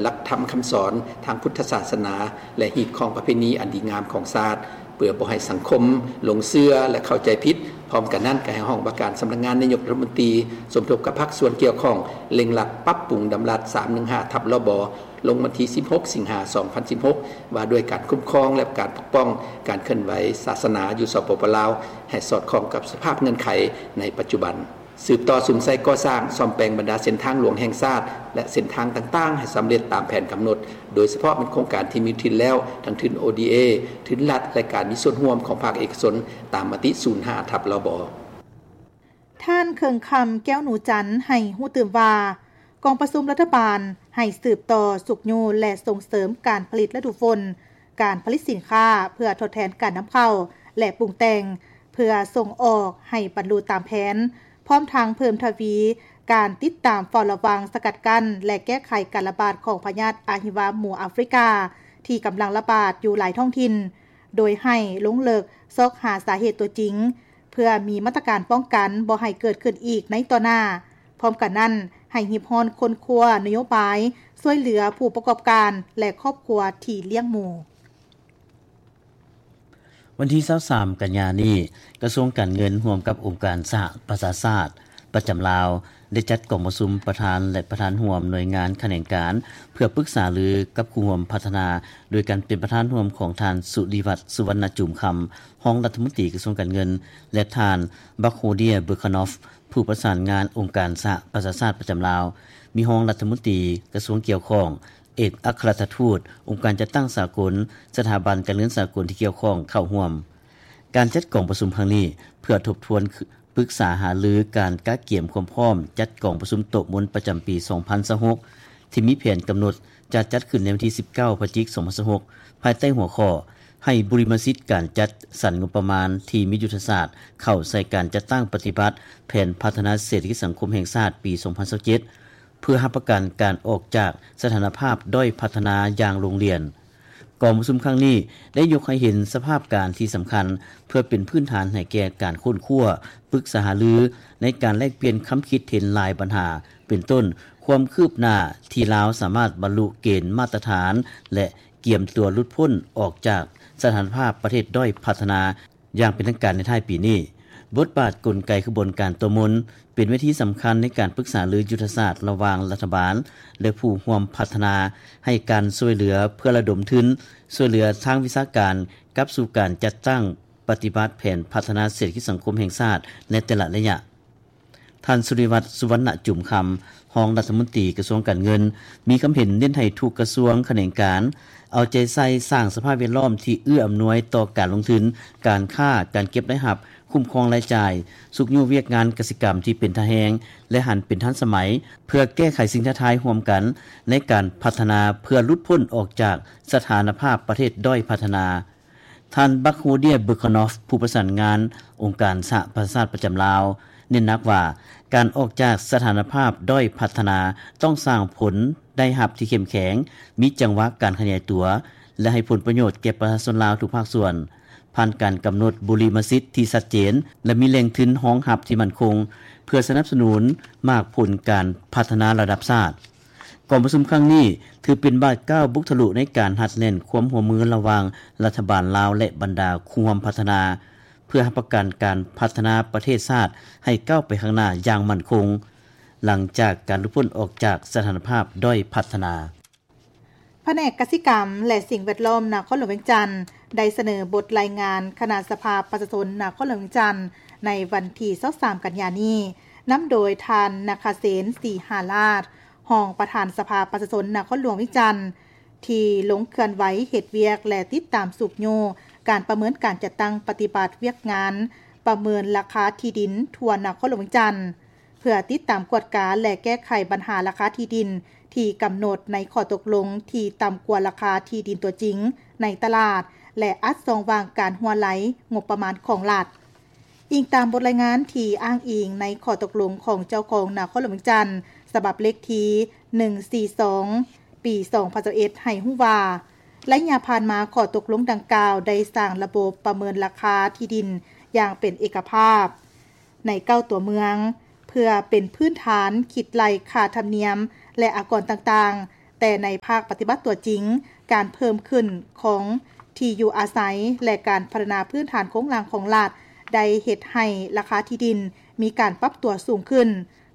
ຫຼັກທຳຄຳສອນທາງພຸດທະສາສະໜາ ແລະ ຮີດຄອງປະເພນີອັນດີງາມຂອງຊາດ ເພື່ອບໍ່ໃຫ້ສັງຄົມຫຼົງເຊື່ອ ແລະ ເຂົ້າໃຈຜິດ. ພ້ອມກັນນັ້ນ ກໍໃຫ້ຫ້ອງວ່າການສຳນັກງານນາຍົກລັດຖະມົນຕີ ສົມທົບກັບພາກສ່ວນກ່ຽວຂ້ອງ ເລັ່ງລັດປັບປຸງດຳລັດ ສາມໜຶ່ງຫ້າ ທັບ ລບ ລົງວັນທີ ສິບຫົກ ສິງຫາ ສອງພັນສິບຫົກ ວ່າດ້ວຍການຄຸ້ມຄອງ ແລະ ການປົກປ້ອງການເຄື່ອນໄຫວສາສະໜາຢູ່ ສປປ ລາວ ໃຫ້ສອດຄ່ອງກັບສະພາບເງື່ອນໄຂໃນປັດຈຸບັນ. ສືບຕໍ່ສຸມໃສ່ກໍ່ສ້າງ, ສ້ອມແປງບັນດາເສັ້ນທາງຫຼວງແຫ່ງຊາດ ແລະ ເສັ້ນທາງຕ່າງໆ ໃຫ້ສຳເລັດຕາມແຜນກຳນົດ, ໂດຍສະເພາະແມ່ນໂຄງການທີ່ມີທຶນແລ້ວ, ທັງທຶນ ໂອ ດີ ເອ, ທຶນລັດ ແລະ ການມີສ່ວນຮ່ວມຂອງພາກເອກະຊົນ ຕາມມະຕິ ສູນຫ້າ ທັບ ລບ. ທ່ານ ເຄິ່ງຄຳ ແກ້ວໜູຈັນ ໃຫ້ຮູ້ຕື່ມວ່າ ກອງປະຊຸມລັດຖະບານໃຫ້ສືບຕໍ່ຊຸກຍູ້ ແລະ ສົ່ງເສີມການຜະລິດລະດູຝົນ, ການຜະລິດສິນຄ້າເພື່ອທົດແທນການນຳເຂົ້າ ແລະ ປຸງແຕ່ງ ເພື່ອສົ່ງອອກໃຫ້ບັນລຸຕາມແຜນ, ພ້ອມທັງເພີ່ມທະວີການຕິດຕາມເຝົ້າລະວັງ, ສະກັດກັ້ນ ແລະ ແກ້ໄຂການລະບາດຂອງພະຍາດອະຫິວາໝູອາຟຣິກາ ທີ່ກຳລັງລະບາດຢູ່ຫຼາຍທ້ອງຖິ່ນ, ໂດຍໃຫ້ລົງເລິກຊອກຫາສາເຫດຕົວຈິງ ເພື່ອມີມາດຕະການປ້ອງກັນບໍ່ໃຫ້ເກີດຂຶ້ນອີກໃນຕໍ່ໜ້າ. ພ້ອມກັນນັ້ນ, ໃຫ້ຮີບຮ້ອນຄົ້ນຄວ້ານະໂຍບາຍຊ່ວຍເຫຼືອຜູ້ປະກອບການ ແລະ ຄອບຄົວທີ່ລ້ຽງໝູ. ວັນທີ ຊາວສາມ ກັນຍານີ້, ກະຊວງການເງິນຮ່ວມກັບອົງການສະຫະປະຊາຊາດປະຈຳລາວ ໄດ້ຈັດກອງປະຊຸມປະທານ ແລະ ປະທານຮ່ວມໜ່ວຍງານຂະແໜງການ ເພື່ອປຶກສາລືກັບຄູ່ຮ່ວມພັດທະນາ ໂດຍການເປັນປະທານຮ່ວມຂອງທ່ານ ສຸລິວັດ ສຸວັນນະຈູມຄຳ ຮອງລັດຖະມົນຕີກະຊວງການເງິນ ແລະ ທ່ານ ບັກໂຮເດຍ ເບີຄານອຟ ຜູ້ປະສານງານອົງການສະຫະປະຊາຊາດປະຈຳລາວ, ມີຮອງລັດຖະມົນຕີກະຊວງກ່ຽວຂ້ອງ, ເອກອັກຄະລັດຖະທູດ, ອົງການຈັດຕັ້ງສາກົນ, ສະຖາບັນການເງິນສາກົນທີ່ກ່ຽວຂ້ອງເຂົ້າຮ່ວມ. ການຈັດກອງປະຊຸມຄັ້ງນີ້ ເພື່ອທົບທວນປຶກສາຫາລືການກະກຽມຄວາມພ້ອມຈັດກອງປະຊຸມໂຕະມົນປະຈຳປີ ສອງພັນຊາວຫົກ ທີ່ມີແຜນກຳນົດຈະຈັດຂຶ້ນໃນວັນທີ ສິບເກົ້າ ພະຈິກ ສອງພັນຊາວຫົກ ພາຍໃຕ້ຫົວຂໍ້ ໃຫ້ບຸລິມະສິດການຈັດສັນງົບປະມານທີ່ມີຍຸດທະສາດເຂົ້າໃສ່ການຈັດຕັ້ງປະຕິບັດແຜນພັດທະນາເສດຖະກິດສັງຄົມແຫ່ງຊາດປີ ສອງພັນຊາວເຈັດ ເພື່ອຮັບປະກັນການອອກຈາກສະຖານະພາບດ້ອຍພັດທະນາຢ່າງໂລງລຽນ. ກອງປະຊຸມຄັ້ງນີ້ໄດ້ຍົກໃຫ້ເຫັນສະພາບການທີ່ສຳຄັນ ເພື່ອເປັນພື້ນຖານໃຫ້ແກ່ການຄົ້ນຄວ້າ, ປຶກສາຫາລືໃນການແລກປ່ຽນຄຳຄິດເຫັນຫຼາຍບັນຫາ, ເປັນຕົ້ນ ຄວາມຄືບໜ້າທີ່ລາວສາມາດບັນລຸເກນມາດຕະຖານ ແລະ ກຽມຕົວຫຼຸດພົ້ນອອກຈາກສະຖານະພາບປະເທດດ້ອຍພັດທະນາ ຢ່າງເປັນທາງການໃນທ້າຍປີນີ້. ບົດບາດກົນໄກຂະບວນການໂຕະມົນ ເປັນເວທີສຳຄັນໃນການປຶກສາລືຍຸດທະສາດລະຫວ່າງລັດຖະບານ ແລະ ຜູ້ຮ່ວມພັດທະນາ ໃຫ້ການຊ່ວຍເຫຼືອເພື່ອລະດົມທຶນ, ຊ່ວຍເຫຼືອທາງວິຊາການກັບສູ່ການຈັດຕັ້ງປະຕິບັດແຜນພັດທະນາເສດຖະກິດສັງຄົມແຫ່ງຊາດໃນແຕ່ລະໄລຍະ. ທ່ານ ສຸລິວັດ ສຸວັນນະຈຸມຄຳ ຮອງລັດຖະມົນຕີກະຊວງການເງິນ ມີຄຳເຫັນເນັ້ນໃຫ້ທຸກກະຊວງຂະແໜງການ ເອົາໃຈໃສ່ສ້າງສະພາບແວດລ້ອມທີ່ເອື້ອອຳນວຍຕໍ່ການລົງທຶນ, ການຄ້າ, ການເກັບລາຍຮັບ, ຄຸ້ມຄອງລາຍຈ່າຍ, ຊຸກຍູ້ວຽກງານກະສິກຳທີ່ເປັນທ່າແຮງ ແລະ ຫັນເປັນທັນສະໄໝ ເພື່ອແກ້ໄຂສິ່ງທ້າທາຍຮ່ວມກັນໃນການພັດທະນາ ເພື່ອຫຼຸດພົ້ນອອກຈາກສະຖານະພາບປະເທດດ້ອຍພັດທະນາ. ທ່ານ ບັກໂຮເດຍ ເບີຄານອຟ ຜູ້ປະສານງານອົງການສະຫະປະຊາຊາດປະຈຳລາວ ເນັ້ນໜັກວ່າ ການອອກຈາກສະຖານະພາບດ້ອຍພັດທະນາ ຕ້ອງສ້າງຜົນໄດ້ຮັບທີ່ເຂັ້ມແຂງ, ມີຈັງຫວະການຂະຫຍາຍຕົວ ແລະ ໃຫ້ຜົນປະໂຫຍດແກ່ປະຊາຊົນລາວທຸກພາກສ່ວນ, ຜ່ານການກຳນົດບຸລິມະສິດທີ່ຊັດເຈນ ແລະ ມີແຫຼ່ງທຶນຮອງຮັບທີ່ໝັ້ນຄົງ ເພື່ອສະໜັບສະໜູນໝາກຜົນການພັດທະນາລະດັບຊາດ. ກອງປະຊຸມຄັ້ງນີ້ ຖືເປັນບາດກ້າວບຸກທະລຸໃນການຮັດແໜ້ນຄວາມຮ່ວມມືລະຫວ່າງລັດຖະບານລາວ ແລະ ບັນດາຄູ່ຮ່ວມພັດທະນາ ເພື່ອຮັບປະກັນການພັດທະນາປະເທດຊາດໃຫ້ກ້າວໄປຂ້າງໜ້າຢ່າງໝັ້ນຄົງ ຫຼັງຈາກການຫຼຸດພົ້ນອອກຈາກສະຖານະພາບດ້ອຍພັດທະນາ. ພະແນກກະສິກຳ ແລະ ສິ່ງແວດລ້ອມນະຄອນຫຼວງວຽງຈັນ ໄດ້ສະເໜີບົດລາຍງານຄະນະສະພາປະຊາຊົນນະຄອນຫຼວງວຽງຈັນ ໃນວັນທີ ຊາວສາມ ກັນຍານີ້ ນຳໂດຍທ່ານ ນະຄະເສນ ສີຫາລາດ ຮອງປະທານສະພາປະຊາຊົນນະຄອນຫຼວງວຽງຈັນ ທີ່ລົງເຄື່ອນໄຫວເຮັດວຽກ ແລະ ຕິດຕາມຊຸກຍູ້ການປະເມີນການຈັດຕັ້ງປະຕິບັດວຽກງານປະເມີນລາຄາທີ່ດິນທົ່ວນະຄອນຫຼວງວຽງຈັນ ເພື່ອຕິດຕາມກວດກາ ແລະ ແກ້ໄຂບັນຫາລາຄາທີ່ດິນທີ່ກຳນົດໃນຂໍ້ຕົກລົງທີ່ຕ່ຳກວ່າລາຄາທີ່ດິນຕົວຈິງໃນຕະຫຼາດ ແລະ ອັດຊ່ອງວ່າງການຮົ່ວໄຫຼງົບປະມານຂອງລັດ. ອີງຕາມບົດລາຍງານທີ່ອ້າງອີງໃນຂໍ້ຕົກລົງຂອງເຈົ້າຄອງນະຄອນຫຼວງວຽງຈັນ ສະບັບເລກທີ ໜຶ່ງສີ່ສອງ ປີ ສອງພັນຊາວເອັດ ໃຫ້ຮູ້ວ່າ ໄລຍະຜ່ານມາຂໍ້ຕົກລົງດັ່ງກ່າວໄດ້ສ້າງລະບົບປະເມີນລາຄາທີ່ດິນຢ່າງເປັນເອກະພາບໃນເກົ້າຕົວເມືອງ ເພື່ອເປັນພື້ນຖານຄິດໄລ່ຄ່າທຳນຽມ ແລະ ອາກອນຕ່າງໆ. ແຕ່ໃນພາກປະຕິບັດຕົວຈິງ, ການເພີ່ມຂຶ້ນຂອງທີ່ຢູ່ອາໄສ ແລະ ການພັດທະນາພື້ນຖານໂຄງລ່າງຂອງລັດ ໄດ້ເຮັດໃຫ້ລາຄາທີ່ດິນມີການປັບຕົວສູງຂຶ້ນ,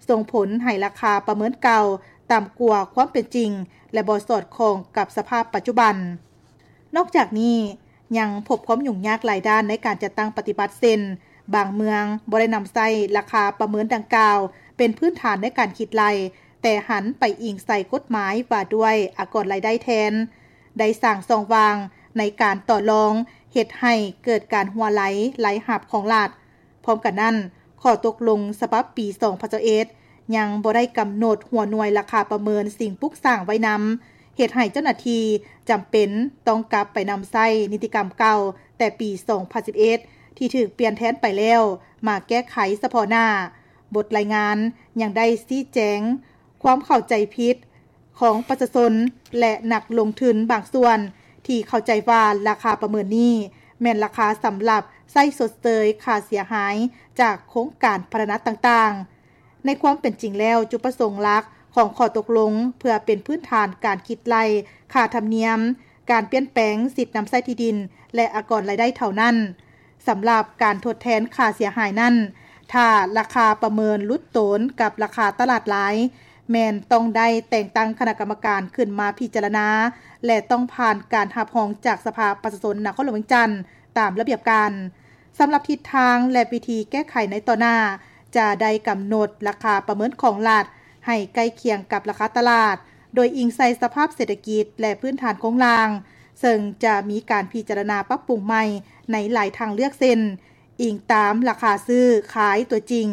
ສົ່ງຜົນໃຫ້ລາຄາປະເມີນເກົ່າຕ່ຳກວ່າຄວາມເປັນຈິງ ແລະ ບໍ່ສອດຄ່ອງກັບສະພາບປັດຈຸບັນ. ນອກຈາກນີ້, ຍັງພົບຄວາມຫຍຸ້ງຍາກຫຼາຍດ້ານໃນການຈັດຕັ້ງປະຕິບັດ ເຊັ່ນ ບາງເມືອງບໍ່ໄດ້ນຳໃຊ້ລາຄາປະເມີນດັ່ງກ່າວເປັນພື້ນຖານໃນການຄິດໄລ່, ແຕ່ຫັນໄປອີງໃສ່ກົດໝາຍວ່າດ້ວຍອາກອນລາຍໄດ້ແທນ, ໄດ້ສ້າງຊ່ອງວ່າງໃນການຕໍ່ລອງ, ເຮັດໃຫ້ເກີດການຮົ່ວໄຫຼລາຍຮັບຂອງລັດ. ພ້ອມກັນນັ້ນ, ຂໍ້ຕົກລົງສະບັບປີສອງພັນຊາວເອັດ ຍັງບໍ່ໄດ້ກຳນົດຫົວໜ່ວຍລາຄາປະເມີນສິ່ງປຸກສ້າງໄວ້ນຳ, ເຮັດໃຫ້ເຈົ້າໜ້າທີ່ຈຳເປັນຕ້ອງກັບໄປນຳໃຊ້ນິຕິກຳເກົ່າແຕ່ປີສອງພັນສິບເອັດ ທີ່ຖືກປ່ຽນແທນໄປແລ້ວ ມາແກ້ໄຂສະເພາະໜ້າ. ບົດລາຍງານຍັງໄດ້ຊີ້ແຈງຄວາມເຂົ້າໃຈຜິດ ຂອງປະຊາຊົນ ແລະ ນັກລົງທຶນບາງສ່ວນ ທີ່ເຂົ້າໃຈວ່າລາຄາປະເມີນນີ້ແມ່ນລາຄາສຳລັບໃຊ້ຊົດເຊີຍຄ່າເສຍຫາຍຈາກໂຄງການພັດທະນາຕ່າງໆ. ໃນຄວາມເປັນຈິງແລ້ວ, ຈຸດປະສົງຫຼັກຂອງຂໍ້ຕົກລົງເພື່ອເປັນພື້ນຖານການຄິດໄລ່ຄ່າທຳນຽມ, ການປ່ຽນແປງສິດນຳໃຊ້ທີ່ດິນ ແລະ ອາກອນລາຍໄດ້ເທົ່ານັ້ນ. ສຳລັບການທົດແທນຄ່າເສຍຫາຍນັ້ນ, ຖ້າລາຄາປະເມີນຫຼຸດໂຕນກັບລາຄາຕະຫຼາດລາຍ, ແມ່ນຕ້ອງໄດ້ແຕ່ງຕັ້ງຄະນະກຳມະການຂຶ້ນມາພິຈາລະນາ ແລະ ຕ້ອງຜ່ານການຮັບຮອງຈາກສະພາປະຊາຊົນນະຄອນຫຼວງວຽງຈັນຕາມລະບຽບການ. ສຳລັບທິດທາງ ແລະ ວິທີແກ້ໄຂໃນຕໍ່ໜ້າ, ຈະໄດ້ກຳນົດລາຄາປະເມີນຂອງລັດໃຫ້ໃກ້ຄຽງກັບລາຄາຕະຫຼາດ, ໂດຍອີງໃສ່ສະພາບເສດຖະກິດ ແລະ ພື້ນຖານໂຄງລ່າງ, ເຊິ່ງຈະມີການພິຈາລະນາປັບປຸງໃໝ່ໃນຫຼາຍທາງເລືອກ ເຊັ່ນ ອີງຕາມລາຄາຊື້ຂາຍຕົວຈິງ,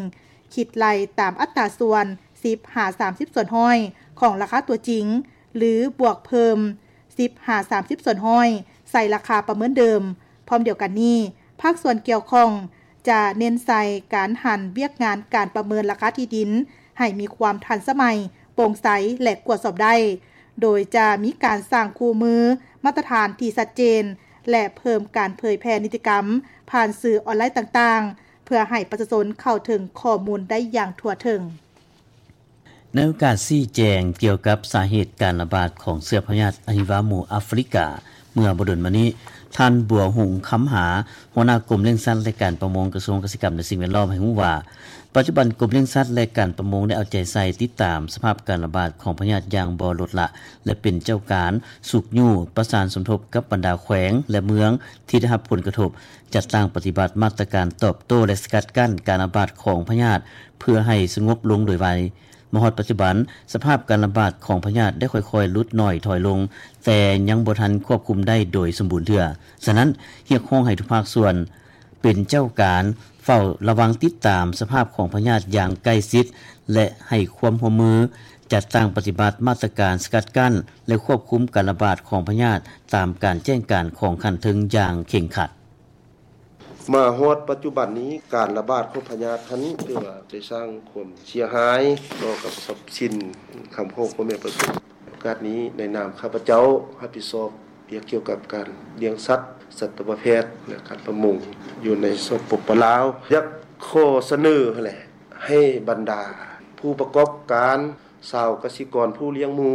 ຄິດໄລ່ຕາມອັດຕາສ່ວນ ສິບຫາສາມສິບສ່ວນຮ້ອຍ ຂອງລາຄາຕົວຈິງ ຫຼື ບວກເພີ່ມ ສິບຫາສາມສິບສ່ວນຮ້ອຍ ໃສ່ລາຄາປະເມີນເດີມ. ພ້ອມດຽວກັນນີ້, ພາກສ່ວນກ່ຽວຂ້ອງຈະເນັ້ນໃສ່ການຫັນວຽກງານການປະເມີນລາຄາທີ່ດິນໃຫ້ມີຄວາມທັນສະໄໝ, ໂປ່ງໃສ ແລະ ກວດສອບໄດ້, ໂດຍຈະມີການສ້າງຄູ່ມືມາດຕະຖານທີ່ຊັດເຈນ ແລະ ເພີ່ມການເຜີຍແຜ່ນິຕິກຳຜ່ານສື່ອອນລາຍຕ່າງໆ ເພື່ອໃຫ້ປະຊາຊົນເຂົ້າເຖິງຂໍ້ມູນໄດ້ຢ່າງທົ່ວເຖິງ. ໃນໂອກາດຊີ້ແຈງກ່ຽວກັບສາເຫດການລະບາດຂອງເຊື້ອພະຍາດອະຫິວາໝູອາຟຣິກາ ເມື່ອບໍ່ດົນມານີ້, ທ່ານ ບົວຮຸງ ຄຳຫາ ຫົວໜ້າກົມລ້ຽງສັດ ແລະ ການປະມົງ ກະຊວງກະສິກຳ ແລະ ສິ່ງແວດລ້ອມ ໃຫ້ຮູ້ວ່າ ປັດຈຸບັນກົມລ້ຽງສັດ ແລະ ການປະມົງ ໄດ້ເອົາໃຈໃສ່ຕິດຕາມສະພາບການລະບາດຂອງພະຍາດຢ່າງບໍ່ລົດລະ ແລະ ເປັນເຈົ້າການຊຸກຍູ້ປະສານສົມທົບກັບບັນດາແຂວງ ແລະ ເມືອງທີ່ໄດ້ຮັບຜົນກະທົບ ຈັດຕັ້ງປະຕິບັດມາດຕະການຕອບໂຕ້ ແລະ ສະກັດກັ້ນການລະບາດຂອງພະຍາດ ເພື່ອໃຫ້ສະຫງົບລົງໂດຍໄວ. ມາຮອດປັດຈຸບັນ, ສະພາບການລະບາດຂອງພະຍາດໄດ້ຄ່ອຍໆຫຼຸດໜ້ອຍຖອຍລົງ, ແຕ່ຍັງບໍ່ທັນຄວບຄຸມໄດ້ໂດຍສົມບູນເທື່ອ. ສະນັ້ນ, ຮຽກຮ້ອງໃຫ້ທຸກພາກສ່ວນເປັນເຈົ້າການເຝົ້າລະວັງຕິດຕາມສະພາບຂອງພະຍາດຢ່າງໃກ້ຊິດ ແລະ ໃຫ້ຄວາມຮ່ວມມືຈັດຕັ້ງປະຕິບັດມາດຕະການສະກັດກັ້ນ ແລະ ຄວບຄຸມການລະບາດຂອງພະຍາດຕາມການແຈ້ງການຂອງຂັ້ນເທິງຢ່າງເຄັ່ງຄັດ. ມາຮອດປັດຈຸບັນນີ້, ການລະບາດຂອງພະຍາດຫັ້ນ ຖືວ່າໄດ້ສ້າງຄວາມເສຍຫາຍຕໍ່ກັບຊັບສິນຄຳຂອງພໍ່ແມ່ປະຊາຊົນ. ໂອກາດນີ້, ໃນນາມຂ້າພະເຈົ້າຮັບຜິດຊອບວຽກກ່ຽວກັບການລ້ຽງສັດ, ສັດຕະວະແພດ ແລະ ການປະມົງ ຢູ່ໃນ ສປປ ລາວ, ຢາກຂໍສະເໜີຫັ້ນແຫຼະ ໃຫ້ບັນດາຜູ້ປະກອບການ, ຊາວກະສິກອນຜູ້ລ້ຽງໝູ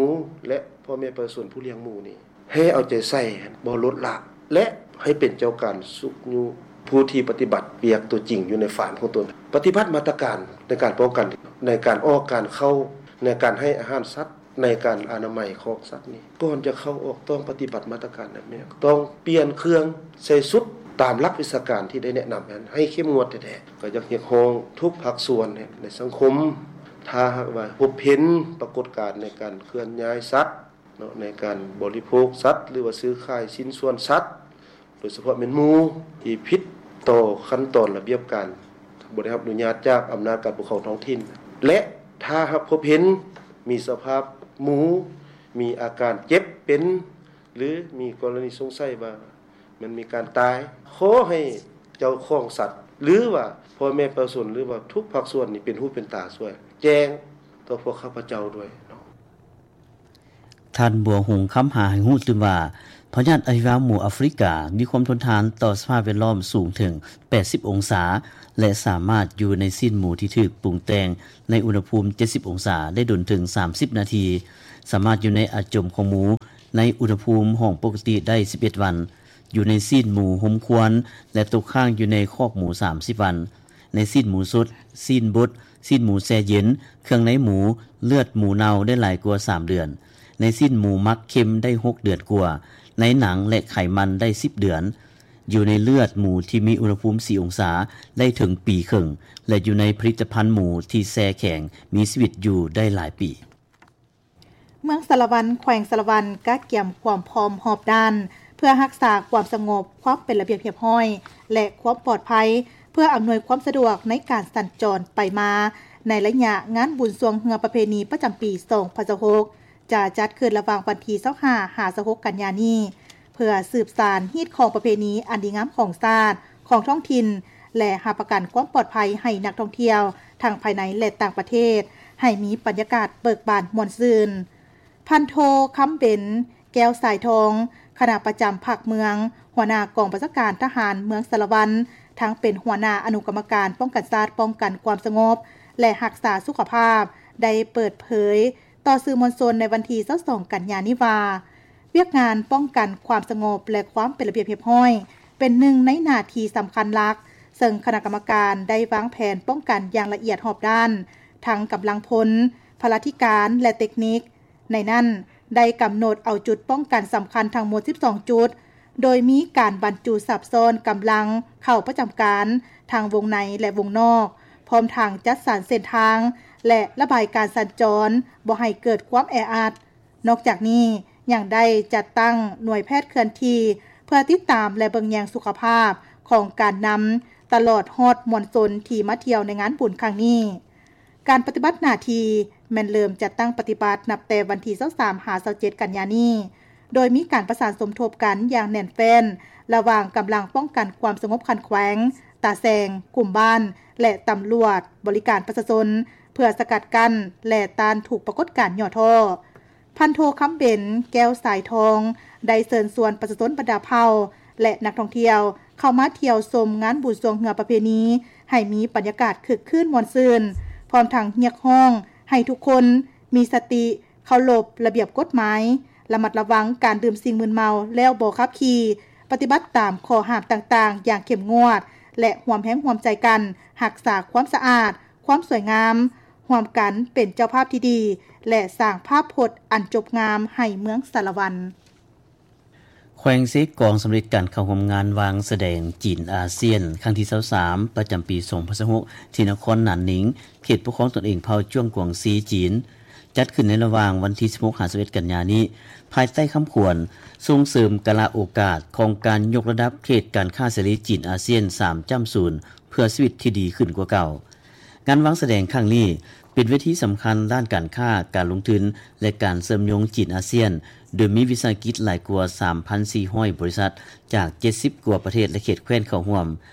ແລະ ພໍ່ແມ່ປະຊາຊົນຜູ້ລ້ຽງໝູນີ້ ໃຫ້ເອົາໃຈໃສ່ ບໍ່ລົດລະ ແລະ ໃຫ້ເປັນເຈົ້າການຊຸກຍູ້ຜູ້ທີ່ປະຕິບັດວຽກຕົວຈິງຢູ່ໃນຟາມຂອງຕົນ, ປະຕິບັດມາດຕະການໃນການປ້ອງກັນ, ໃນການອອກການເຂົ້າ, ໃນການໃຫ້ອາຫານສັດ, ໃນການອະນາໄມຄອກສັດນີ້. ກ່ອນຈະເຂົ້າອອກ ຕ້ອງປະຕິບັດມາດຕະການແນບແນວ, ຕ້ອງປ່ຽນເຄື່ອງ, ໃສ່ຊຸດຕາມຫຼັກວິຊາການທີ່ໄດ້ແນະນຳນັ້ນ ໃຫ້ເຂັ້ມງວດແທ້ໆ. ກໍຢາກຮຽກຮ້ອງທຸກພາກສ່ວນໃນສັງຄົມ, ຖ້າຫາກວ່າພົບເຫັນປາກົດການໃນການເຄື່ອນຍ້າຍສັດ, ເນາະ ໃນການບໍລິໂພກສັດ ຫຼືວ່າຊື້ຂາຍຊິ້ນສ່ວນສັດ, ໂດຍສະເພາະແມ່ນໝູທີ່ຜິດຕໍ່ຂັ້ນຕອນລະບຽບການ ບໍ່ໄດ້ຮັບອະນຸຍາດຈາກອຳນາດການປົກຄອງທ້ອງຖິ່ນ ແລະ ຖ້າຫາກພົບເຫັນມີສະພາບໝູມີອາການເຈັບເປັນ ຫຼື ມີກໍລະນີສົງໄສວ່າ ມັນມີການຕາຍ, ຂໍໃຫ້ເຈົ້າຂອງສັດ ຫຼືວ່າພໍ່ແມ່ປະຊາຊົນ ຫຼືວ່າທຸກພາກສ່ວນນີ້ເປັນຫູເປັນຕາຊ່ວຍແຈ້ງຕໍ່ພວກຂ້າພະເຈົ້າດ້ວຍເນາະ. ທ່ານ ບົວຮຸງ ຄຳຫາ ໃຫ້ຮູ້ຕື່ມວ່າ ພະຍາດອະຫິວາໝູອາຟຣິກາ ມີຄວາມທົນທານຕໍ່ສະພາບແວດລ້ອມສູງເຖິງ ແປດສິບ ອົງສາ ແລະ ສາມາດຢູ່ໃນຊີ້ນໝູທີ່ຖືກປຸງແຕ່ງໃນອຸນຫະພູມ ເຈັດສິບ ອົງສາ ໄດ້ດົນເຖິງ ສາມສິບ ນາທີ, ສາມາດຢູ່ໃນອາຈົມຂອງໝູໃນອຸນຫະພູມຫ້ອງປົກກະຕິໄດ້ ສິບເອັດ ວັນ, ຢູ່ໃນຊີ້ນໝູຮົມຄວັນ ແລະ ຕົກຄ້າງຢູ່ໃນຄອກໝູ ສາມສິບ ວັນ. ໃນຊີ້ນໝູສົດ, ຊີ້ນບົດ, ຊີ້ນໝູແຊ່ເຢັນ, ເຄື່ອງໃນໝູ, ເລືອດໝູເນົ່າໄດ້ຫຼາຍກວ່າ ສາມ ເດືອນ. ໃນຊີ້ນໝູໝັກເຄັມໄດ້ ຫົກ ເດືອນກວ່າ. ໃນໜັງ ແລະ ໄຂມັນໄດ້ ສິບ ເດືອນ. ຢູ່ໃນເລືອດໝູທີ່ມີອຸນຫະພູມ ສີ່ ອົງສາ ໄດ້ເຖິງປີເຄິ່ງ ແລະ ຢູ່ໃນຜະລິດຕະພັນໝູທີ່ແຊ່ແຂງມີຊີວິດຢູ່ໄດ້ຫຼາຍປີ. ເມືອງສາລະວັນ ແຂວງສາລະວັນ ກະກຽມຄວາມພ້ອມຮອບດ້ານ ເພື່ອຮັກສາຄວາມສະຫງົບ, ຄວາມເປັນລະບຽບຮຽບຮ້ອຍ ແລະ ຄວາມປອດໄພ ເພື່ອອຳນວຍຄວາມສະດວກໃນການສັນຈອນໄປມາ ໃນໄລຍະງານບຸນຊ່ວງເຮືອປະເພນີປະຈຳປີ ສອງພັນຊາວຫົກ ຈະຈັດຂຶ້ນລະຫວ່າງວັນທີ ຊາວຫ້າ ຫາ ຊາວຫົກ ກັນຍານີ້ ເພື່ອສືບສານຮີດຄອງປະເພນີອັນດີງາມຂອງຊາດ, ຂອງທ້ອງຖິ່ນ ແລະ ຮັບປະກັນຄວາມປອດໄພໃຫ້ນັກທ່ອງທ່ຽວ ທັງພາຍໃນ ແລະ ຕ່າງປະເທດ ໃຫ້ມີບັນຍາກາດເບີກບານມ່ວນຊື່ນ. ພັນໂທ ຄຳເບັນ ແກ້ວສາຍທອງ, ຄະນະປະຈຳພັກເມືອງ, ຫົວໜ້າກອງບັນຊາການທະຫານເມືອງສາລະວັນ, ທັງເປັນຫົວໜ້າອະນຸກຳມະການປ້ອງກັນຊາດ, ປ້ອງກັນຄວາມສະຫງົບ ແລະ ຮັກສາສຸຂະພາບ ໄດ້ເປີດເຜີຍຕໍ່ສື່ມວນຊົນໃນວັນທີ ຊາວສອງ ກັນຍານີ້ວ່າ, ວຽກງານປ້ອງກັນຄວາມສະຫງົບ ແລະ ຄວາມເປັນລະບຽບຮຽບຮ້ອຍ ເປັນໜຶ່ງໃນໜ້າທີ່ສຳຄັນຫຼັກ, ເຊິ່ງຄະນະກຳມະການໄດ້ວາງແຜນປ້ອງກັນຢ່າງລະອຽດຮອບດ້ານ, ທັງກຳລັງພົນ, ພະລາທິການ ແລະ ເຕັກນິກ. ໃນນັ້ນໄດ້ກຳນົດເອົາຈຸດປ້ອງກັນສຳຄັນທັງໝົດ ສິບສອງ ຈຸດ, ໂດຍມີການບັນຈຸສັບຊ້ອນກຳລັງເຂົ້າປະຈຳການທັງວົງໃນ ແລະ ວົງນອກ, ພ້ອມທັງຈັດສັນເສັ້ນທາງ ແລະ ລະບາຍການສັນຈອນບໍ່ໃຫ້ເກີດຄວາມແອອັດ. ນອກຈາກນີ້ຍັງໄດ້ຈັດຕັ້ງໜ່ວຍແພດເຄື່ອນທີ່ ເພື່ອຕິດຕາມ ແລະ ເບິ່ງແຍງສຸຂະພາບຂອງການນຳ ຕະຫຼອດຮອດມວນຊົນທີ່ມາທ່ຽວໃນງານບຸນຄັ້ງນີ້. ການປະຕິບັດໜ້າທີ່ແມ່ນເລີ່ມຈັດຕັ້ງປະຕິບັດນັບແຕ່ວັນທີ ຊາວສາມ ຫາ ຊາວເຈັດ ກັນຍານີ້, ໂດຍມີການປະສານສົມທົບກັນຢ່າງແໜ້ນແຟ້ນ ລະຫວ່າງກຳລັງປ້ອງກັນຄວາມສະຫງົບຂັ້ນແຂວງ, ຕາແຊງ, ກຸ່ມບ້ານ ແລະ ຕຳຫຼວດບໍລິການປະຊາຊົນ ເພື່ອສະກັດກັ້ນ ແລະ ຕ້ານທຸກປາກົດການຫຍໍ້ທໍ້. ພັນໂທ ຄຳເບັນ ແກ້ວສາຍທອງ ໄດ້ເຊີນຊວນປະຊາຊົນບັນດາເຜົ່າ ແລະ ນັກທ່ອງທ່ຽວ ເຂົ້າມາທ່ຽວຊົມງານບຸນຊ່ວງເຮືອປະເພນີ ໃຫ້ມີບັນຍາກາດຄຶກຄື້ນມ່ວນຊື່ນ, ພ້ອມທັງຮຽກຮ້ອງໃຫ້ທຸກຄົນມີສະຕິ, ເຄົາລົບລະບຽບກົດໝາຍ, ລະມັດລະວັງການດື່ມສິ່ງມຶນເມົາແລ້ວບໍ່ຂັບຂີ່, ປະຕິບັດຕາມຂໍ້ຫ້າມຕ່າງໆຢ່າງເຂັ້ມງວດ ແລະ ຮ່ວມແຮງຮ່ວມໃຈກັນຮັກສາຄວາມສະອາດ, ຄວາມສວຍງາມ, ຮ່ວມກັນເປັນເຈົ້າພາບທີ່ດີ ແລະ ສ້າງພາບພົດອັນຈົບງາມໃຫ້ເມືອງສາລະວັນ. ແຂວງເຊກອງສຳເລັດການເຂົ້າຮ່ວມງານວາງສະແດງຈີນອາຊຽນ ຄັ້ງທີ ຊາວສາມ ປະຈຳປີ ສອງພັນຊາວຫົກ ທີ່ນະຄອນໜານໜິງ, ເຂດປົກຄອງຕົນເອງເຜົ່າຈວງກວາງຊີ ຈີນ, ຈັດຂຶ້ນໃນລະຫວ່າງວັນທີ ສິບຫົກ ຫາ ສິບເອັດ ກັນຍານີ້, ພາຍໃຕ້ຄຳຂວັນ ສົ່ງເສີມກາລະໂອກາດຂອງການຍົກລະດັບເຂດການຄ້າເສລີຈີນອາຊຽນ ສາມຈ້ຳສູນ ເພື່ອຊີວິດທີ່ດີຂຶ້ນກວ່າເກົ່າ. ງານວາງສະແດງຄັ້ງນີ້ ເປັນເວທີສຳຄັນດ້ານການຄ້າ, ການລົງທຶນ ແລະ ການເຊື່ອມໂຍງຈີນອາຊຽນ, ໂດຍມີວິສາຫະກິດຫຼາຍກວ່າ ສາມພັນສີ່ຮ້ອຍ ບໍລິສັດ ຈາກ ເຈັດສິບ ກວ່າປະເທດ ແລະ ເຂດແຄວ້ນເຂົ້າຮ່ວມ,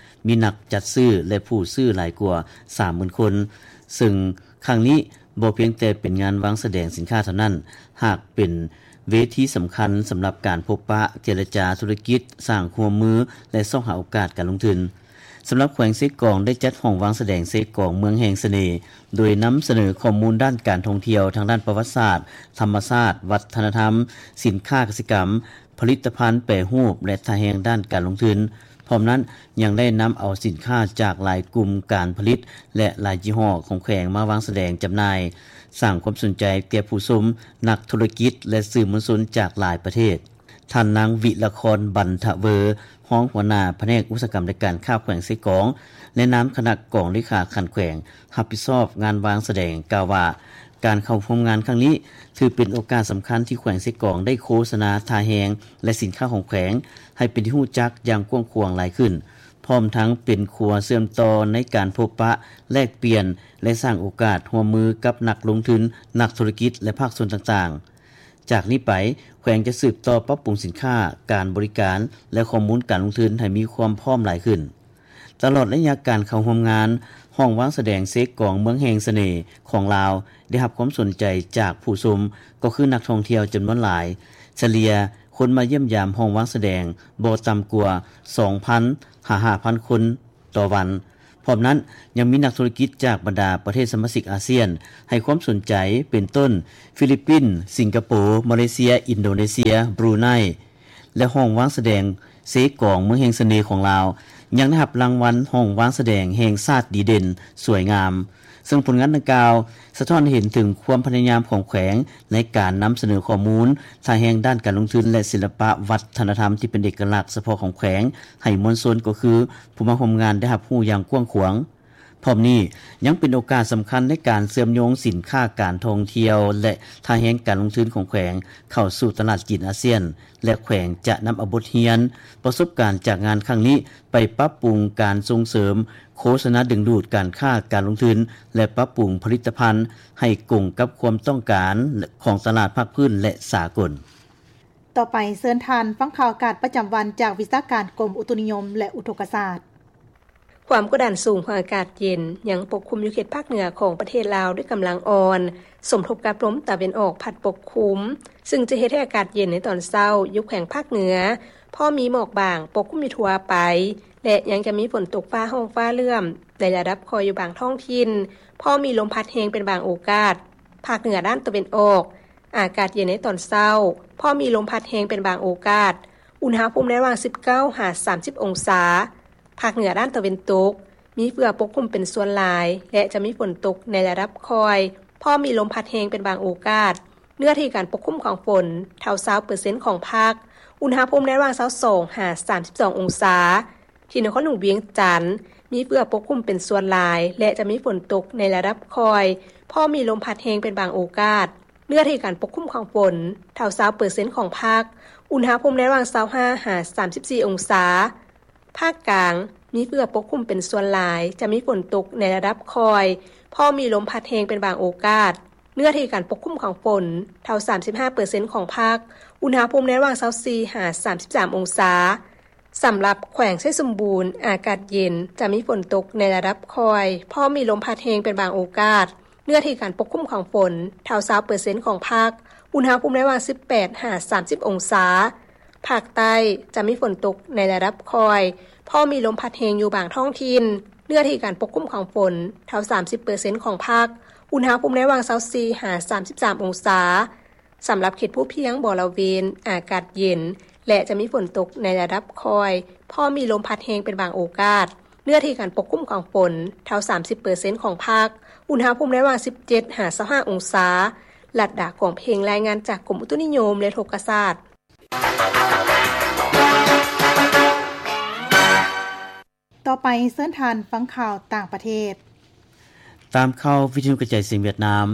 ມີນັກຈັດຊື້ ແລະ ຜູ້ຊື້ຫຼາຍກວ່າ ສາມໝື່ນ ຄົນ, ເຊິ່ງຄັ້ງນີ້ບໍ່ພຽງແຕ່ເປັນງານວາງສະແດງສິນຄ້າເທົ່ານັ້ນ, ຫາກເປັນເວທີສຳຄັນສຳລັບການພົບປະ, ເຈລະຈາທຸລະກິດ, ສ້າງຄວາມຮ່ວມມື ແລະ ຊອກຫາໂອກາດການລົງທຶນ. ສຳລັບແຂວງເຊກອງ ໄດ້ຈັດຫ້ອງວາງສະແດງເຊກອງເມືອງແຫ່ງສະເໜ່ ໂດຍນຳສະເໜີຂໍ້ມູນດ້ານການທ່ອງທ່ຽວ ທາງດ້ານປະຫວັດສາດ, ທຳມະຊາດ, ວັດທະນະທຳ, ສິນຄ້າກະສິກຳ, ຜະລິດຕະພັນແປຮູບ ແລະ ທ່າແຮງດ້ານການລົງທຶນ. ພ້ອມນັ້ນຍັງໄດ້ນຳເອົາສິນຄ້າຈາກຫຼາຍກຸ່ມການຜະລິດ ແລະ ຫຼາຍຍີ່ຫໍ້ຂອງແຂວງມາວາງສະແດງຈຳໜ່າຍ, ສ້າງຄວາມສົນໃຈແກ່ຜູ້ຊົມ, ນັກທຸລະກິດ ແລະ ສື່ມວນຊົນຈາກຫຼາຍປະເທດ. ທ່ານນາງ ວິລະຄອນ ບັນທະເວີ ຮອງຫົວໜ້າພະແນກອຸດສາຫະກຳ ແລະ ການຄ້າແຂວງເຊກອງ ໃນນາມຄະນະກອງເລຂາຂັ້ນແຂວງ ຮັບຜິດຊອບງານວາງສະແດງ ກ່າວວ່າ ການເຂົ້າຮ່ວມງານຄັ້ງນີ້ ຖືເປັນໂອກາດສຳຄັນທີ່ແຂວງເຊກອງໄດ້ໂຄສະນາທ່າແຮງ ແລະ ສິນຄ້າຂອງແຂວງ ໃຫ້ເປັນທີ່ຮູ້ຈັກຢ່າງກວ້າງຂວາງຫຼາຍຂຶ້ນ, ພ້ອມທັງເປັນຂົວເຊື່ອມຕໍ່ໃນການພົບປະ, ແລກປ່ຽນ ແລະ ສ້າງໂອກາດຮ່ວມມືກັບນັກລົງທຶນ, ນັກທຸລະກິດ ແລະ ພາກສ່ວນຕ່າງໆ. ຈາກນີ້ໄປ, ແຂວງຈະສືບຕໍ່ປັບປຸງສິນຄ້າ, ການບໍລິການ ແລະ ຂໍ້ມູນການລົງທຶນໃຫ້ມີຄວາມພ້ອມຫຼາຍຂຶ້ນ. ຕະຫຼອດໄລຍະການເຂົ້າຮ່ວມງານ, ຫ້ອງວາງສະແດງເຊກອງເມືອງແຫ່ງສະເໜ່ຂອງລາວ ໄດ້ຮັບຄວາມສົນໃຈຈາກຜູ້ຊົມ ກໍຄືນັກທ່ອງທ່ຽວຈຳນວນຫຼາຍ, ສະເລ່ຍ ຄົນມາຢ້ຽມຢາມຫ້ອງວາງສະແດງບໍ່ຕ່ຳກວ່າ ສອງພັນ ຫາ ຫ້າພັນຄົນຕໍ່ວັນ. ພ້ອມນັ້ນ, ຍັງມີນັກທຸລະກິດຈາກບັນດາປະເທດສະມາຊິກອາຊຽນ ໃຫ້ຄວາມສົນໃຈ ເປັນຕົ້ນ ຟີລິບປິນ, ສິງກະໂປ, ມາເລເຊຍ, ອິນໂດເນເຊຍ, ບຣູໄນ ແລະ ຫ້ອງວາງສະແດງເຊກອງ ເມືອງແຫ່ງສະເໜ່ຂອງລາວ ຍັງໄດ້ຮັບລາງວັນຫ້ອງວາງສະແດງແຫ່ງຊາດດີເດັ່ນສວຍງາມ, ເຊິ່ງຜົນງານດັ່ງກ່າວ ສະທ້ອນໃຫ້ເຫັນເຖິງຄວາມພະຍາຍາມຂອງແຂວງ ໃນການນຳສະເໜີຂໍ້ມູນ ທ່າແຮງດ້ານການລົງທຶນ ແລະ ສິລະປະວັດທະນະທຳທີ່ເປັນເອກະລັກສະເພາະຂອງແຂວງ ໃຫ້ມວນຊົນ ກໍຄືຜູ້ມາຮ່ວມງານ ໄດ້ຮັບຮູ້ຢ່າງກວ້າງຂວາງ. ພ້ອມນີ້ ຍັງເປັນໂອກາດສຳຄັນໃນການເຊື່ອມໂຍງສິນຄ້າການທ່ອງທ່ຽວ ແລະ ທ່າແຮງການລົງທຶນຂອງແຂວງເຂົ້າສູ່ຕະຫຼາດຈີນອາຊຽນ ແລະ ແຂວງຈະນຳເອົາບົດຮຽນປະສົບການຈາກງານຄັ້ງນີ້ ໄປປັບປຸງການສົ່ງເສີມໂຄສະນາດຶງດູດການຄ້າການລົງທຶນ ແລະ ປັບປຸງຜະລິດຕະພັນໃຫ້ກົງກັບຄວາມຕ້ອງການຂອງຕະຫຼາດພາກພື້ນ ແລະ ສາກົນ. ຕໍ່ໄປເຊີນທ່ານຟັງຂ່າວອາກາດປະຈຳວັນຈາກວິຊາການກົມອຸຕຸນິຍົມ ແລະ ອຸທົກກະສາດ. ຄວາມກົດດັນສູງຂອງອາກາດເຢັນຍັງປົກຄຸມຢູ່ເຂດພາກເໜືອຂອງປະເທດລາວດ້ວຍກຳລັງອ່ອນ, ສົມທົບກັບລົມຕາເວັນອອກພັດປົກຄຸມ, ຊຶ່ງຈະເຮັດໃຫ້ອາກາດເຢັນໃນຕອນເຊົ້າຢູ່ແຂວງພາກເໜືອ ພໍມີໝອກບາງປົກຄຸມຢູ່ທົ່ວໄປ ແລະ ຍັງຈະມີຝົນຕົກຟ້າຮ້ອງຟ້າເຫຼື້ອມໃນລະດັບຄ່ອຍຢູ່ບາງທ້ອງຖິ່ນ, ພໍມີລົມພັດແຮງເປັນບາງໂອກາດ. ພາກເໜືອດ້ານຕາເວັນອອກ ອາກາດເຢັນໃນຕອນເຊົ້າ, ພໍມີລົມພັດແຮງເປັນບາງໂອກາດ, ອຸນຫະພູມໃນລະຫວ່າງສິບເກົ້າຫາສາມສິບອົງສາ. ພາກເໜືອດ້ານຕາເວັນຕົກ ມີເຝືອປົກຄຸມເປັນສ່ວນຫຼາຍ ແລະ ຈະມີຝົນຕົກໃນລະດັບຄ່ອຍ, ພໍມີລົມພັດແຮງເປັນບາງໂອກາດ. ເນື້ອທີ່ການປົກຄຸມຂອງຝົນເທົ່າຊາວເປີເຊັນຂອງພາກ, ອຸນຫະພູມໃນລະຫວ່າງຊາວສອງຫາສາມສິບສອງອົງສາ. ທີ່ນະຄອນຫຼວງວຽງຈັນ ມີເຝືອປົກຄຸມເປັນສ່ວນຫຼາຍ ແລະ ຈະມີຝົນຕົກໃນລະດັບຄ່ອຍ, ພໍມີລົມພັດແຮງເປັນບາງໂອກາດ. ເນື້ອທີ່ການປົກຄຸມຂອງຝົນເທົ່າຊາວເປີເຊັນຂອງພາກ, ອຸນຫະພູມໃນລະຫວ່າງຊາວຫ້າຫາສາມສິບສີ່ອົງສາ. ພາກກາງ ມີເຝືອປົກຄຸມເປັນສ່ວນຫຼາຍ, ຈະມີຝົນຕົກໃນລະດັບຄ່ອຍ, ພໍມີລົມພັດແຮງເປັນບາງໂອກາດ. ເນື້ອທີ່ການປົກຄຸມຂອງຝົນເທົ່າສາມສິບຫ້າເປີເຊັນຂອງພາກ, ອຸນຫະພູມໃນລະຫວ່າງຊາວສີ່ຫາສາມສິບສາມອົງສາ. ສຳລັບແຂວງໄຊສົມບູນ ອາກາດເຢັນ, ຈະມີຝົນຕົກໃນລະດັບຄ່ອຍ, ພໍມີລົມພັດແຮງເປັນບາງໂອກາດ. ເນື້ອທີ່ການປົກຄຸມຂອງຝົນເທົ່າຊາວເປີເຊັນຂອງພາກ, ອຸນຫະພູມໃນລະຫວ່າງສິບແປດຫາສາມສິບອົງສາ. ພາກໃຕ້ຈະມີຝົນຕົກໃນລະດັບຄ່ອຍ, ພໍມີລົມພັດແຮງຢູ່ບາງທ້ອງຖິ່ນ. ເນື້ອທີ່ການປົກຄຸມຂອງຝົນເທົ່າສາມສິບເປີເຊັນຂອງພາກ, ອຸນຫະພູມໃນລະຫວ່າງຊາວສີ່ຫາສາມສິບສາມອົງສາ. ສຳລັບເຂດພູພຽງບໍລະເວນ ອາກາດເຢັນ ແລະ ຈະມີຝົນຕົກໃນລະດັບຄ່ອຍ, ພໍມີລົມພັດແຮງເປັນບາງໂອກາດ. ເນື້ອທີ່ການປົກຄຸມຂອງຝົນເທົ່າສາມສິບເປີເຊັນຂອງພາກ, ອຸນຫະພູມໃນລະຫວ່າງສິບເຈັດຫາຊາວຫ້າອົງສາ. ລັດດາ ກອງເພັງ ລາຍງານຈາກກົມອຸຕຸນິຍົມ ແລະ ອຸທົກກະສາດ. ຕໍ່ໄປເຊີນທ່ານຟັງຂ່າວຕ່າງປະເທດ. ຕາມຂ່າວວິທະຍຸກະຈາຍສຽງຫວຽດນາມ,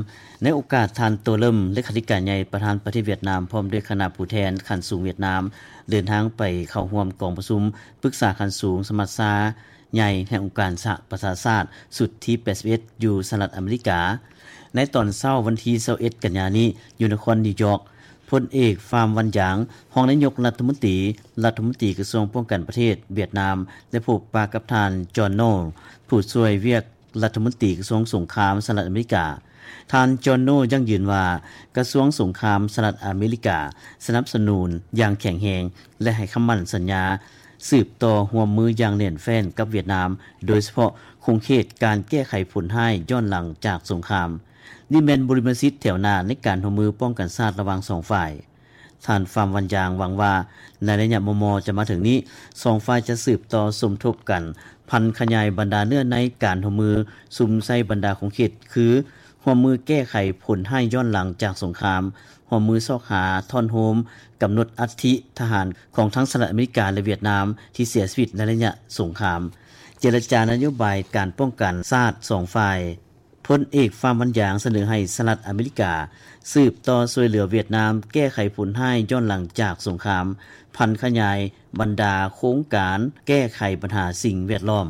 ໃນໂອກາດທ່ານ ໂຕ ເລິມ ເລຂາທິການໃຫຍ່ ປະທານປະເທດຫວຽດນາມ ພ້ອມດ້ວຍຄະນະຜູ້ແທນຂັ້ນສູງຫວຽດນາມ ເດີນທາງໄປເຂົ້າຮ່ວມກອງປະຊຸມປຶກສາຂັ້ນສູງສະມັດຊາໃຫຍ່ແຫ່ງອົງການສະຫະປະຊາຊາດ ຊຸດທີແປດສິບເອັດ ຢູ່ສະຫະລັດອາເມລິກາ. ໃນຕອນເຊົ້າວັນທີຊາວເອັດ ກັນຍານີ້ ຢູ່ນະຄອນນິວຢອກ, ພົນເອກ ຟາມ ວັນຢາງ ຮອງນາຍົກລັດຖະມົນຕີ, ລັດຖະມົນຕີກະຊວງປ້ອງກັນປະເທດຫວຽດນາມ ໄດ້ພົບປະກັບທ່ານ ຈອນ ໂນ ຜູ້ຊ່ວຍວຽກລັດຖະມົນຕີກະຊວງສົງຄາມສະຫະລັດອາເມລິກາ. ທ່ານ ຈອນ ໂນ ຢັ້ງຢືນວ່າ ກະຊວງສົງຄາມສະຫະລັດອາເມລິກາສະໜັບສະໜູນຢ່າງແຂງແຮງ ແລະ ໃຫ້ຄຳໝັ້ນສັນຍາ ສືບຕໍ່ຮ່ວມມືຢ່າງແໜ້ນແຟ້ນກັບຫວຽດນາມ, ໂດຍສະເພາະຂົງເຂດການແກ້ໄຂຜົນຮ້າຍຍ້ອນຫຼັງຈາກສົງຄາມ. ນີ້ແມ່ນບູລິມະສິດແຖວໜ້າໃນການຮ່ວມມືປ້ອງກັນຊາດລະຫວ່າງສອງຝ່າຍ. ທ່ານ ຟາມ ວັນຢາງ ຫວັງວ່າ ໃນໄລຍະມໍ່ໆຈະມາເຖິງນີ້, ສອງຝ່າຍຈະສືບຕໍ່ສົມທົບກັນ ຜັນຂະຫຍາຍບັນດາເນື້ອໃນການຮ່ວມມື ສຸມໃສ່ບັນດາຂົງເຂດ ຄື ຮ່ວມມືແກ້ໄຂຜົນຮ້າຍຍ້ອນຫຼັງຈາກສົງຄາມ, ຮ່ວມມືຊອກຫາທ່ອນໂຮມ, ກຳນົດອັດຖິທະຫານຂອງທັງສະຫະລັດອາເມລິກາ ແລະ ຫວຽດນາມ ທີ່ເສຍຊີວິດໃນໄລຍະສົງຄາມ, ເຈລະຈານະໂຍບາຍການປ້ອງກັນຊາດສອງຝ່າຍ. ພົນເອກ ຟາມ ວັນຢາງ ສະເໜີໃຫ້ສະຫະລັດອາເມລິກາສືບຕໍ່ຊ່ວຍເຫຼືອຫວຽດນາມແກ້ໄຂຜົນຮ້າຍຍ້ອນຫຼັງຈາກສົງຄາມ, ຜັນຂະຫຍາຍບັນດາໂຄງການແກ້ໄຂບັນຫາສິ່ງແວດລ້ອມ.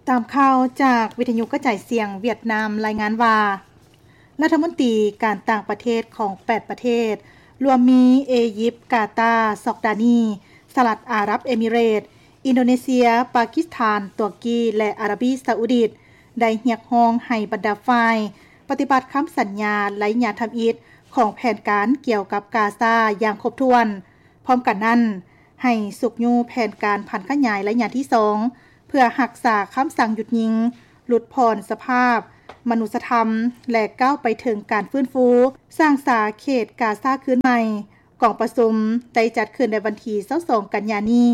ຕາມຂ່າວຈາກວິທະຍຸກະຈາຍສຽງຫວຽດນາມລາຍງານວ່າ ລັດຖະມົນຕີການຕ່າງປະເທດຂອງແປດປະເທດ ລວມມີ ເອຢິບ, ກາຕາ, ຊອກດານີ, ສະຫະລັດອາຣັບເອມິເຣດ, ອິນໂດເນເຊຍ, ປາກິສຖານ, ຕຸວກີ ແລະ ອາຣາບີຊາອຸດີດ ໄດ້ຮຽກຮ້ອງໃຫ້ບັນດາຝ່າຍປະຕິບັດຄຳສັນຍາໄລຍະທຳອິດຂ ຂອງແຜນການກ່ຽວກັບກາຊາຢ່າງຄົບຖ້ວນ. ພ້ອມກັນນັ້ນ, ໃຫ້ຊຸກຍູ້ແຜນການຜັນຂະຫຍາຍໄລຍະທີສອງ ເພື່ອຮັກສາຄຳສັ່ງຢຸດຍິງ, ຫຼຸດຜ່ອນສະພາບມະນຸດສະທຳ ແລະ ກ້າວໄປເຖິງການຟື້ນຟູສ້າງສາເຂດກາຊາຄືນໃໝ່. ກອງປະຊຸມໄດ້ຈັດຂຶ້ນໃນວັນທີຊາວສອງ ກັນຍານີ້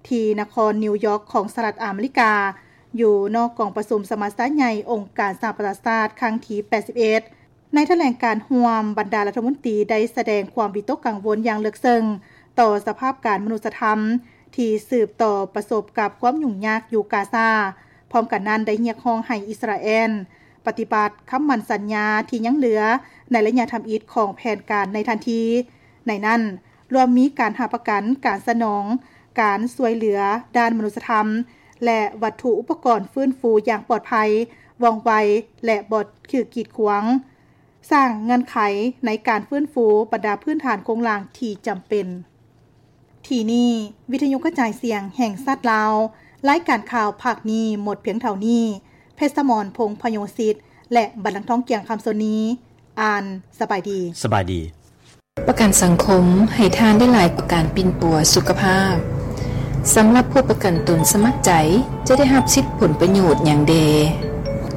ທີ່ນະຄອນນິວຢອກຂອງສະຫະລັດອາເມລິກາ, ຢູ່ນອກກອງປະຊຸມສະມັດຊາໃຫຍ່ອົງການສະຫະປະຊາຊາດຄັ້ງທີແປດສິບເອັດ. ໃນຖະແຫຼງການຮ່ວມ, ບັນດາລັດຖະມົນຕີໄດ້ສະແດງຄວາມວິຕົກກັງວົນຢ່າງເລິກເຊິ່ງຕໍ່ສະພາບການມະນຸດສະທຳທີ່ສືບຕໍ່ປະສົບກັບຄວາມຫຍຸ້ງຍາກຢູ່ກາຊາ. ພ້ອມກັນນັ້ນໄດ້ຮຽກຮ້ອງໃຫ້ອິດສະຣາແອນປະຕິບັດຄຳໝັ້ນສັນຍາທີ່ຍັງເຫຼືອໃນໄລຍະທຳອິດຂອງແຜນການໃນທັນທີ. ໃນນັ້ນລວມມີການຮັບປະກັນການສະໜອງການຊ່ວຍເຫຼືອດ້ານມະນຸດສະທຳ ແລະ ວັດຖຸອຸປະກອນຟື້ນຟູຢ່າງປອດໄພ, ວ່ອງໄວ ແລະ ບໍ່ຖືກກີດຂວາງ, ສ້າງເງື່ອນໄຂໃນການຟື້ນຟູບັນດາພື້ນຖານໂຄງລ່າງທີ່ຈຳເປັນ. ທີ່ນີ້ ວິທະຍຸກະຈາຍສຽງແຫ່ງຊາດລາວ, ລາຍການຂ່າວພາກນີ້ໝົດພຽງເທົ່ານີ້. ເພັດສະໝອນ ພົງພະໂຍສິດ ແລະ ບັນລັງທອງ ກຽງຄຳ ສ່ວນນີ້ ອ່ານ. ສະບາຍດີ. ສະບາຍດີ. ປະກັນສັງຄົມໃຫ້ທ່ານໄດ້ຫຼາຍກວ່າການປິ່ນປົວສຸຂະພາບ. ສຳລັບຜູ້ປະກັນຕົນສະໝັກໃຈ ຈະໄດ້ຮັບສິດຜົນປະໂຫຍດຫຍັງແດ່?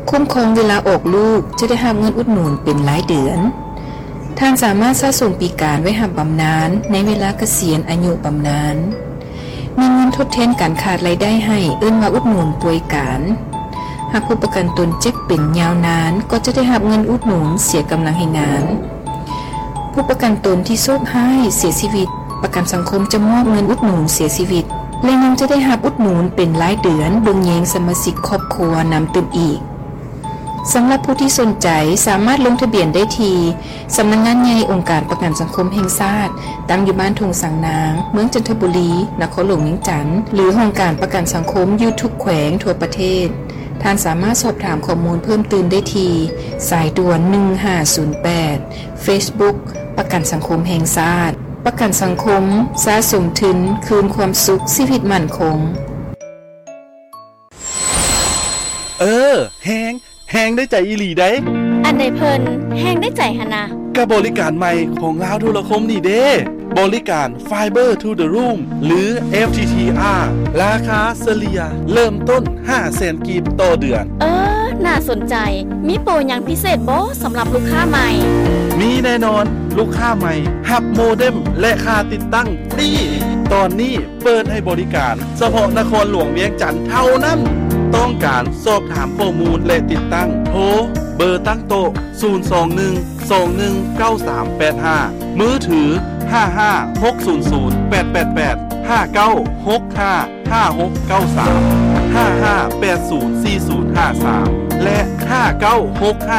ຄຸ້ມຄອງເວລາອອກລູກ ຈະໄດ້ຮັບເງິນອຸດໜູນເປັນລາຍເດືອນ. ທ່ານສາມາດສະສົມປີການໄວ້ຮັບບຳນານໃນເວລາກະສຽນອາຍຸບຳນານ. ມີເງິນທົດແທນການຂາດລາຍໄດ້ໃຫ້ ເອີ້ນວ່າອຸດໜູນປ່ວຍການ. ຫາກຜູ້ປະກັນຕົນເຈັບເປັນຍາວນານ ກໍຈະໄດ້ຮັບເງິນອຸດໜູນເສຍກຳລັງແຮງງານ. ຜູ້ປະກັນຕົນທີ່ໂຊກຮ້າຍເສຍຊີວິດ, ປະກັນສັງຄົມຈະມອບເງິນອຸດໜູນເສຍຊີວິດ ແລະ ຍັງຈະໄດ້ຮັບອຸດໜູນເປັນລາຍເດືອນເບິ່ງແຍງສະມາຊິກຄອບຄົວນຳຕື່ມອີກ. ສຳລັບຜູ້ທີ່ສົນໃຈ ສາມາດລົງທະບຽນໄດ້ທີ່ ສຳນັກງານໃຫຍ່ອົງການປະກັນສັງຄົມແຫ່ງຊາດ, ຕັ້ງຢູ່ບ້ານທົ່ງສາງນາງ, ເມືອງຈັນທະບູລີ, ນະຄອນຫຼວງວຽງຈັນ ຫຼື ຫ້ອງການປະກັນສັງຄົມຢູ່ທຸກແຂວງທົ່ວປະເທດ. ທ່ານສາມາດສອບຖາມຂໍ້ມູນເພີ່ມຕື່ມໄດ້ທີ່ ສາຍດ່ວນ ໜຶ່ງຫ້າສູນແປດ, Facebook ປະກັນສັງຄົມແຫ່ງຊາດ. ປະກັນສັງຄົມ ສະສົມທຶນ ຄືນຄວາມສຸກ, ຊີວິດໝັ້ນຄົງ. ເອີ ແຮງ ແຮງໄດ້ໃຈອີ່ຫຼີໃດ໋. ອັນໃດເພິ່ນແຮງໄດ້ໃຈຫັ້ນນະ? ກະບໍລິການໃໝ່ຂອງລາວໂທລະຄົມນີ້ເດ້ ບໍລິການ Fiber to the Room ຫຼື FTTR ລາຄາສະເລ່ຍເລີ່ມຕົ້ນຫ້າແສນກີບຕໍ່ເດືອນ. ເອີ ໜ້າສົນໃຈ. ມີໂປຫຍັງພິເສດບໍ່ສຳລັບລູກຄ້າໃໝ່? ມີແນ່ນອນ, ລູກຄ້າໃໝ່ຮັບໂມເດັມ ແລະ ຄ່າຕິດຕັ້ງຟຣີ. ຕອນນີ້ ເປີດໃຫ້ບໍລິການສະເພາະນະຄອນຫຼວງວຽງຈັນເທົ່ານັ້ນ. ຕ້ອງການສອບຖາມຂໍ້ມູນ ແລະ ຕິດຕັ້ງ ໂທເບີຕັ້ງໂຕະ ສູນສອງໜຶ່ງ ສອງໜຶ່ງ ເກົ້າສາມແປດຫ້າ, ມືຖື ຫ້າຫ້າຫົກສູນສູນແປດແປດແປດ, ຫ້າເກົ້າຫົກຫ້າຫ້າຫົກເກົ້າສາມ, ຫ້າຫ້າແປດສູນສີ່ສູນຫ້າສາມ ແລະ ຫ້າເກົ້າຫົກຫ້າ